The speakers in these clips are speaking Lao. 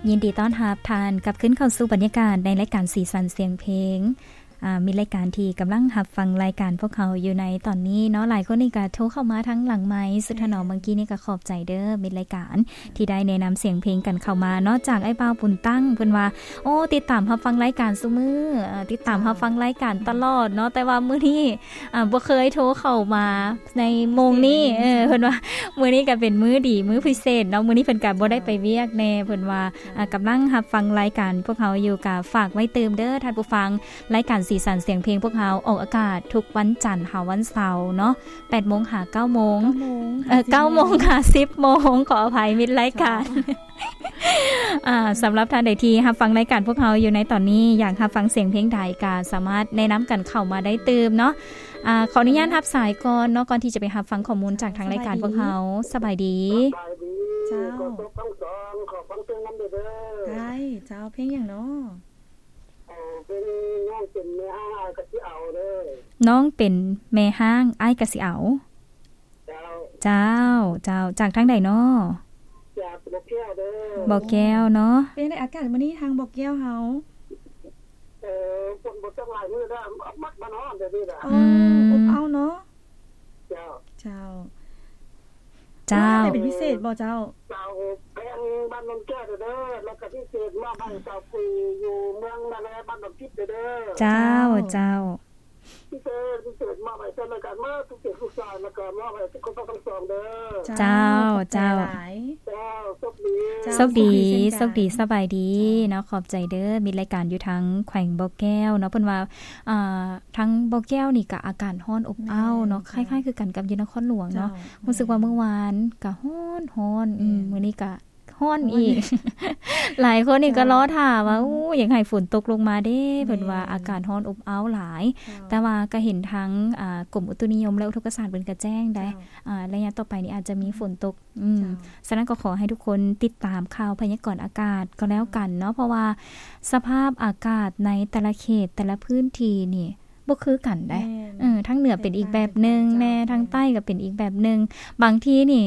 ຍິນດີຕ້ອນຮັບທ່ານກັບຄືນເຂົ້າສູ່ບັນຍາກາດໃນລາຍການສີສັນສຽງເພງ. ອາ, ມີລາຍການທີ່ກຳລັງຮັບຟັງລາຍການພວກເຮົາຢູ່ໃນຕອນນີ້ເນາະ. ຫຼາຍຄົນນີ້ກໍໂທເຂົ້າມາທາງຫຼັງໄມ ສຸດຖະໜອມເມື່ອກີ້ນີ້ກໍຂອບໃຈເດີ້ມິດລາຍການ ທີ່ໄດ້ແນະນຳສຽງເພງກັນເຂົ້າມາເນາະ. ຈາກອ້າຍບ່າວບຸນຕັ້ງ ເພິ່ນວ່າ ໂອ້ ຕິດຕາມຮັບຟັງລາຍການຊຸມື້ ເອີ ຕິດຕາມຮັບຟັງລາຍການຕະຫຼອດເນາະ ແຕ່ວ່າມື້ນີ້ ອາ ບໍ່ເຄີຍໂທເຂົ້າມາໃນໂມງນີ້ ເອີ ເພິ່ນວ່າມື້ນີ້ກໍເປັນມື້ດີ ມື້ພິເສດເນາະ. ມື້ນີ້ເພິ່ນກໍບໍ່ໄດ້ໄປວຽກແດ່ ເພິ່ນວ່າ ອາ ກຳລັງຮັບຟັງລາຍການພວກເຮົາຢູ່ ກໍຝາກໄວ້ຕື່ມເດີ້ທ່ານຜູ້ຟັງ. ລາຍການສີສັນສຽງເພງພວກເຮົາອອກອາກາດທຸກວັນຈັນຫາວັນເສົາເນາະ ແປດໂມງຫາເກົ້າໂມງ ເກົ້າໂມງ ເອີ ເກົ້າໂມງຫາສິບໂມງ ຂໍອະໄພ ມິດລາຍການ. ເຈົ້າ ອາ ສຳລັບທ່ານໃດທີ່ຮັບຟັງລາຍການພວກເຮົາຢູ່ໃນຕອນນີ້ ຢາກຮັບຟັງສຽງເພງໃດ ກໍສາມາດແນະນຳກັນເຂົ້າມາໄດ້ຕື່ມເນາະ. ອາ ຂໍອະນຸຍາດຮັບສາຍກ່ອນເນາະ ກ່ອນທີ່ຈະໄປຮັບຟັງຂໍ້ມູນຈາກທາງລາຍການພວກເຮົາ. ສະບາຍດີ. ສະບາຍດີ. ເຈົ້າ ຂໍຕົກທັງສອງ ຂໍຟັງເພງນຳເດີ້. ໄດ້ເຈົ້າ. ເພງຫຍັງເນາະ? ເອີ ເພງນ້ອງເປັນແມ່ຮ້າງ ອ້າຍກໍຊິເອົາເດີ້. ນ້ອງເປັນແມ່ຮ້າງ ອ້າຍກໍຊິເອົາ. ເຈົ້າ. ເຈົ້າ ເຈົ້າ. ຈາກທາງໃດເນາະ? ຈາກບໍ່ແກ້ວເດີ້. ບໍ່ແກ້ວເນາະ. ເປັນໃດອາກາດມື້ນີ້ທາງບໍ່ແກ້ວເຮົາ? ເອີ ຝົນບໍ່ຕົກຫຼາຍມື້ແລ້ວ ມັກມານອນດຽວນີ້ລະ. ເອີ ອືມ ອົບເອົາເນາະ. ເຈົ້າ. ເຈົ້າ. ເຈົ້າ. ເປັນພິເສດບໍ່ເຈົ້າ? ເຈົ້າ ແພງບ້ານນນແກ້ວເດີ້ ແລ້ວກໍພິເສດມອບໃຫ້ຊາວພຸ້ນຢູ່ເມືອງນາແລ ບ້ານດອນທິດເດີ້. ເຈົ້າ. ເຈົ້າ. ເຈົ້າ. ພິເສດ ພິເສດມອບໃຫ້ເຈົ້າລາຍການໝົດທຸກເຂດທຸກສາຍ ແລ້ວກໍມອບໃຫ້ທຸກຄົນທັງສອງເດີ້. ເຈົ້າ. ເຈົ້າ. ຂອບໃຈ ເຈົ້າ. ຫຼາຍ. ເຈົ້າ. ໂຊກດີ. ໂຊກດີ. ໂຊກດີ ເຊັ່ນກັນ. ສະບາຍດີເນາະ. ຂອບໃຈເດີ້ ມິດລາຍການຢູ່ທາງແຂວງບໍ່ແກ້ວເນາະ. ເພິ່ນວ່າ ອ່າ ທາງບໍ່ແກ້ວນີ້ກະອາກາດຮ້ອນອົບອ້າວເນາະ. ແມ່ນ. ຄ້າຍໆຄືກັນກັບຢູ່ນະຄອນຫຼວງເນາະ. ເຈົ້າ. ຮູ້ສຶກວ່າ ແມ່ນ ມື້ວານກະຮ້ອນໆ ອືມ ແມ່ນ ມື້ນີ້ກະ ຮ້ອນອີກ ຫຼາຍຄົນນີ້ກໍລໍຖ້າວ່າ ໂອ້ ຢາກໃຫ້ຝົນຕົກລົງມາເດ້ ເພິ່ນວ່າອາກາດຮ້ອນອົບອ້າວຫຼາຍ. ເຈົ້າ. ແຕ່ວ່າກໍເຫັນທາງ ອ່າ ກົມອຸຕຸນິຍົມ ແລະ ອຸທົກກະສາດເພິ່ນກໍແຈ້ງໄດ໋ ເຈົ້າ ອ່າ ໄລຍະຕໍ່ໄປນີ້ອາດຈະມີຝົນຕົກ. ອືມ. ເຈົ້າ. ສະນັ້ນກໍຂໍໃຫ້ທຸກຄົນຕິດຕາມຂ່າວພະຍາກອນອາກາດກໍແລ້ວກັນເນາະ ເພາະວ່າສະພາບອາກາດໃນແຕ່ລະເຂດ ແຕ່ລະພື້ນທີ່ນີ້ບໍ່ຄືກັນໄດ໋. ແມ່ນ. ເອີ ທາງເໜືອເປັນອີກແບບໜຶ່ງແນ່ ທາງໃຕ້ກໍເປັນອີກແບບໜຶ່ງ. ບາງທີນີ້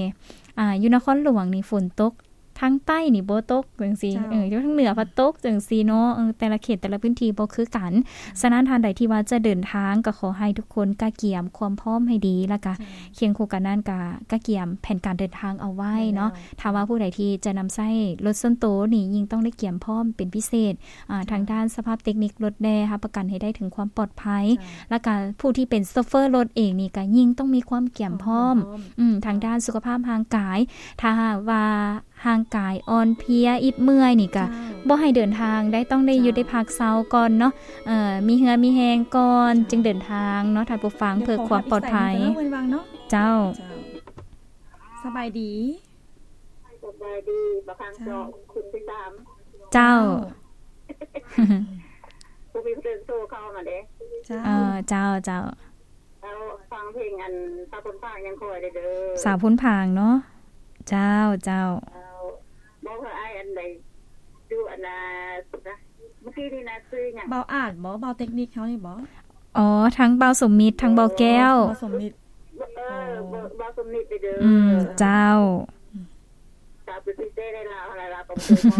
ອ່າ ຢູ່ນະຄອນຫຼວງນີ້ຝົນຕົກ ທາງໃຕ້ນີ້ບໍ່ຕົກຈັ່ງຊີ້ ເຈົ້າ ເອີ ຢູ່ທາງເໜືອພັດຕົກຈັ່ງຊີ້ເນາະ. ເອີ ແຕ່ລະເຂດແຕ່ລະພື້ນທີ່ບໍ່ຄືກັນ. ເຈົ້າ. ສະນັ້ນທ່ານໃດທີ່ວ່າຈະເດີນທາງ ກໍຂໍໃຫ້ທຸກຄົນກະກຽມຄວາມພ້ອມໃຫ້ດີ ແລ້ວກະ ເຈົ້າ ຄຽງຄູ່ກັນນັ້ນກະກະກຽມແຜນການເດີນທາງເອົາໄວ້ເນາະ. ແມ່ນແລ້ວ. ຖ້າວ່າຜູ້ໃດທີ່ຈະນຳໃຊ້ລົດສ່ວນໂຕນີ້ ຍິ່ງຕ້ອງໄດ້ກຽມພ້ອມເປັນພິເສດ ອ່າ ເຈົ້າ ທາງດ້ານສະພາບເຕັກນິກລົດແດ່ ຮັບປະກັນໃຫ້ໄດ້ເຖິງຄວາມປອດໄພ. ເຈົ້າ. ແລ້ວກະຜູ້ທີ່ເປັນໂຊເຟີລົດເອງນີ້ກະຍິ່ງຕ້ອງມີຄວາມກຽມພ້ອມ ຄວາມກຽມພ້ອມ ອືມ ທາງດ້ານສຸຂະພາບຮ່າງກາຍ. ຖ້າຫາກວ່າ ຮ່າງກາຍອ່ອນເພຍອິດເມື່ອຍນີ້ກະ ເຈົ້າ ບໍ່ໃຫ້ເດີນທາງໄດ້ ຕ້ອງໄດ້ຢຸດ ເຈົ້າ ໄດ້ພັກເຊົາກ່ອນເນາະ. ເອີ ມີເຫື່ອມີແຮງກ່ອນ ເຈົ້າ ຈຶ່ງເດີນທາງເນາະທ່ານຜູ້ຟັງ ເພື່ອຄວາມປອດໄພ. ເຈົ້າ. ເຈົ້າ. ສະບາຍດີ. ສະບາຍດີ. ບາງຄັ້ງ ເຈົ້າ ກໍຄຸນຕິດຕາມ. ເຈົ້າ. ເຈົ້າ. ບໍ່ມີເພິ່ນໂທເຂົ້າມາເດ້. ເຈົ້າ. ເອີ ເຈົ້າ ເຈົ້າ. ເຈົ້າ ຟັງເພງອັນສາວພົນພາງຍັງຄອຍເດີ້. ສາວພົນພາງເນາະ. ເຈົ້າ ເຈົ້າ. ເຈົ້າ ບອກເພິ່ນອ້າຍອັນໃດ ຢູ່ອັນນາ ເມື່ອກີ້ນີ້ນາ ຊື່ຫຍັງ? ບ່າວອາດບໍ? ບ່າວເຕັກນິກເຮົານີ້ບໍ? ອໍ ທັງບ່າວສົມມິດ ທັງບ່າວແກ້ວ. ບ່າວສົມມິດ. ເອີ ບ່າວສົມມິດເດີ້. ອືມ ເຈົ້າ. ສາວເປັນພິເສດໃນລາວ ລາວກໍບໍ່ເຄີຍ